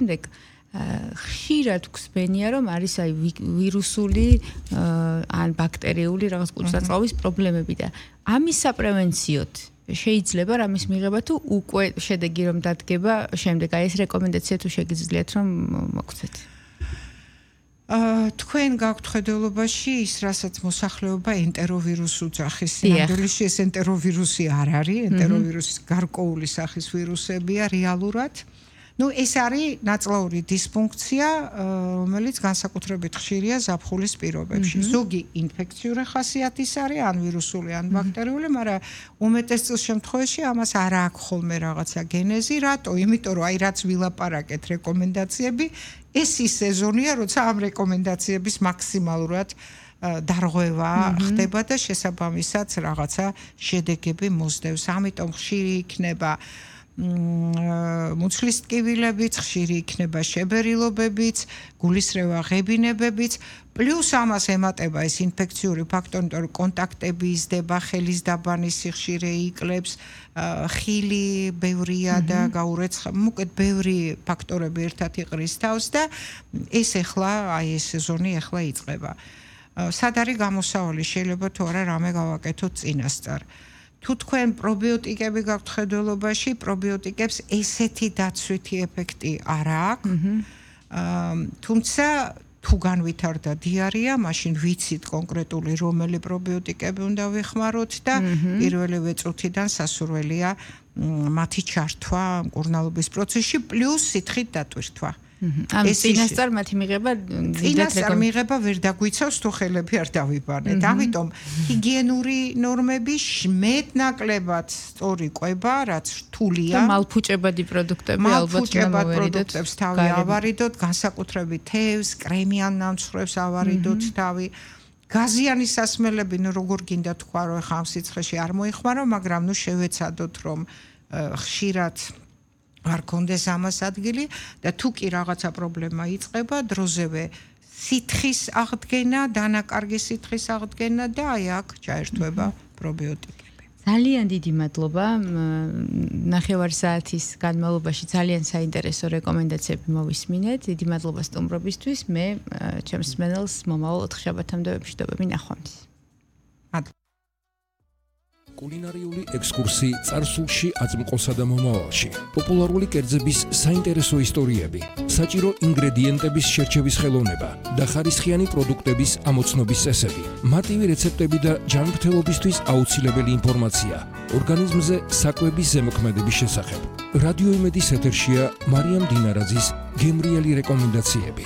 შემდეგ ხშირად გვსმენია, რომ არის აი ვირუსული ან ბაქტერიული რაღაც კუჭ-ნაწლავის პრობლემები და ამის საპრევენციოდ შეიძლება რამის მიღება თუ უკვე შედეგი რომ დადგება შემდეგ აი ეს რეკომენდაცია თუ შეგიძლიათ რომ მოგცეთ. თქვენ გაქვთ ხედელობაში ის რასაც მოსახლეობა ენტეროვირუსს უძახის. სინამდვილეში ეს ენტეროვირუსი არ არის, ენტეროვირუსის გარკვეული სახის ვირუსებია რეალურად. ეს არის ნაწლაური დისფუნქცია, რომელიც განსაკუთრებით ხშირია ზაფხულის პირობებში. ზოგი ინფექციური ხასიათის არის, ან ვირუსული, ან ბაქტერიული, მაგრამ უმეტეს შემთხვევაში ამას არ აქვს ხოლმე რაღაცა გენეზი, რატო? იმიტომ რომ აი რაც ვილაპარაკეთ რეკომენდაციები, ეს ის სეზონია, როცა ამ რეკომენდაციების მაქსიმალურად დარღვევა ხდება და შესაბამისად რაღაცა შედეგები მოსდევს. ამიტომ ხშირი იქნება მუცლის ტკივილებიც, ხშირი იქნება შებერილობებიც, გულისრევა ღებინებებიც, პლუს ამას ემატება ეს ინფექციური ფაქტორი, იმიტომ რომ კონტაქტები იზრდება, ხელის დაბანის სიხშირე იკლებს, ხილი ბევრია და გაურეცხება, მოკლედ ბევრი ფაქტორები ერთად იყრის თავს და ეს ახლა, აი ეს სეზონი ახლა იწყება. სად არის გამოსავალი? შეიძლება თუ არა რამე გავაკეთოთ წინასწარ. თუ თქვენ პრობიოტიკები გაქვთ ხედველობაში, პრობიოტიკებს ესეთი დაცვითი ეფექტი არ აქვს. თუმცა თუ განვითარდა დიარეა, მაშინ ვიცით კონკრეტული რომელი პრობიოტიკები უნდა ვიხმაროთ და პირველივე წუთიდან სასურველია მათი ჩართვა მკურნალობის პროცესში პლუს სითხით დატვირთვა. ამ წინასწარ მათი მიღება წინასწარ მიღება ვერ დაგვიცავს თუ ხელები არ დავიბანეთ. ამიტომ ჰიგიენური ნორმები მეტნაკლებად სწორი კვება, რაც რთულია. მალფუჭებადი პროდუქტები ალბათ მოვერიდოთ. თავი ავარიდოთ, განსაკუთრებით თევზს, კრემიან ნამცხრევს ავარიდოთ თავი. გაზიანი სასმელები, როგორ გინდა თქვა, რომ ხა ამ სიცხეში არ მოიხმარო, მაგრამ შევეცადოთ, რომ ხშირად არ კონდეს ამას ადგილი და თუ კი რაღაცა პრობლემა იწყება, დროზევე სითხის აღდგენა, დანაკარგი სითხის აღდგენა და აი აქ ჩაერთვება პრობიოტიკები. ძალიან დიდი მადლობა. ნახევარ საათის განმავლობაში ძალიან საინტერესო რეკომენდაციები მოვისმინეთ. დიდი მადლობა სტუმრობისთვის. მე ჩემს მსმენელს მომავალ 4 შაბათამდე ვებშდობები ნახვამდის. კულინარიული ექსკურსი წარსულში, აწმყოსა და მომავალში. პოპულარული კერძების საინტერესო ისტორიები, საჭირო ინგრედიენტების შერჩევის ხელოვნება და ხარისხიანი პროდუქტების ამოცნობის წესები, მარტივი რეცეპტები და ჯანმრთელობისთვის აუცილებელი ინფორმაცია, ორგანიზმზე საკვების ზემოქმედების შესახებ. რადიო იმედის ეთერშია მარიამ დინარაძის გემრიელი რეკომენდაციები.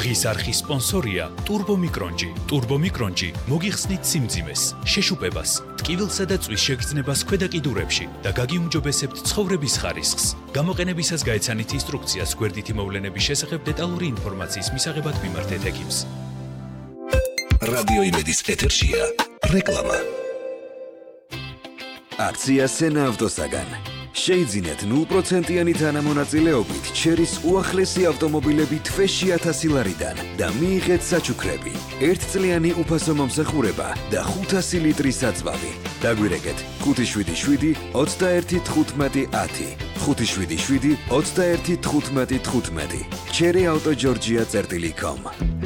დღის არხის სპონსორია ტურბომიკრონჯი. ტურბომიკრონჯი მოგიხსნით სიმძიმეს, შეშუპებას, ტკივილსა და წვის შეგრძნებას ქვედა კიდურებში და გაგიუმჯობესებთ ცხოვრების ხარისხს. გამოყენებისას გაეცანით ინსტრუქციას გვერდითი მოვლენების შესახებ დეტალური ინფორმაციის მისაღებად მიმართეთ ექიმს. რადიო იმედის ეთერშია რეკლამა. აქცია სენა ავტოსაგან. შეიძინეთ 0%-იანი თანამონაწილეობით ჩერის უახლესი ავტომობილები თვეში 1000 ლარიდან და მიიღეთ საჩუქრები, 1 წლიანი უფასო მომსახურება და 500 ლიტრი საწვავი. დაგვირეკეთ 577 21 15 10 577 21 15 15 cherryauto.georgia.com.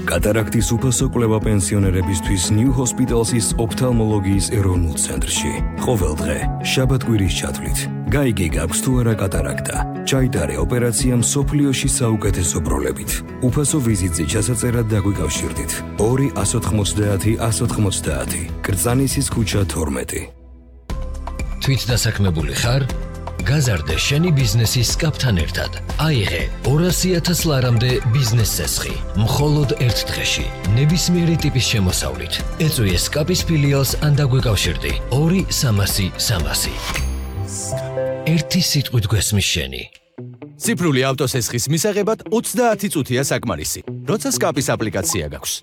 კატარაქტის უფასო კვლევა პენსიონერებისთვის New Hospital's ოფთალმოლოგიის ეროვნულ ცენტრში. ყოველ დღე შაბათ-კვირის ჩათვლით გაიგე გაქვს თუ არა კატარაქტა. ჩაიტარე ოპერაცია მსოფლიოში საუკეთესო პროლებით. უფასო ვიზიტზე ჩასაწერად დაგვიკავშირდით. 2 190 190 კრწანისის ქუჩა 12. თვით დასაქმებული ხარ? გაზარდე შენი ბიზნესის კაპთან ერთად. აიღე 200,000 ლარამდე ბიზნეს წესხი. მხოლოდ ერთ დღეში. ნებისმიერი ტიპის შემოსავლით. ეწვიე სკაპის ფილიალს ან დაგვიკავშირდი. 2 300 300. ერთი სიტყვით გვესმის შენი. ციფრული ავტოსესხის მისაღებად 30 წუთია საკმარისი. როცა სკაპის აპლიკაცია გაქვს.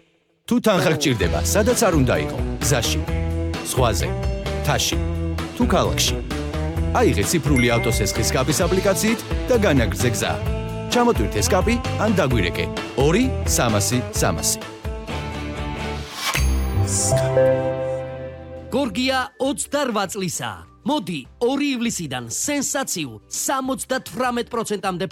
თუ თანხა გჭირდება, სადაც არ უნდა იყო, გზაში, ზღვაზე, მთაში, თუ ქალაქში. აიღე ციფრული ავტოსესხის სკაპის აპლიკაციით და განაგრძე გზა. ჩამოტვირთე სკაპი ან დაგვირეკე 2 300 300. გორგია 28 წლისა. მოდი 2 ივლისიდან სენსაციულ 78%-ამდე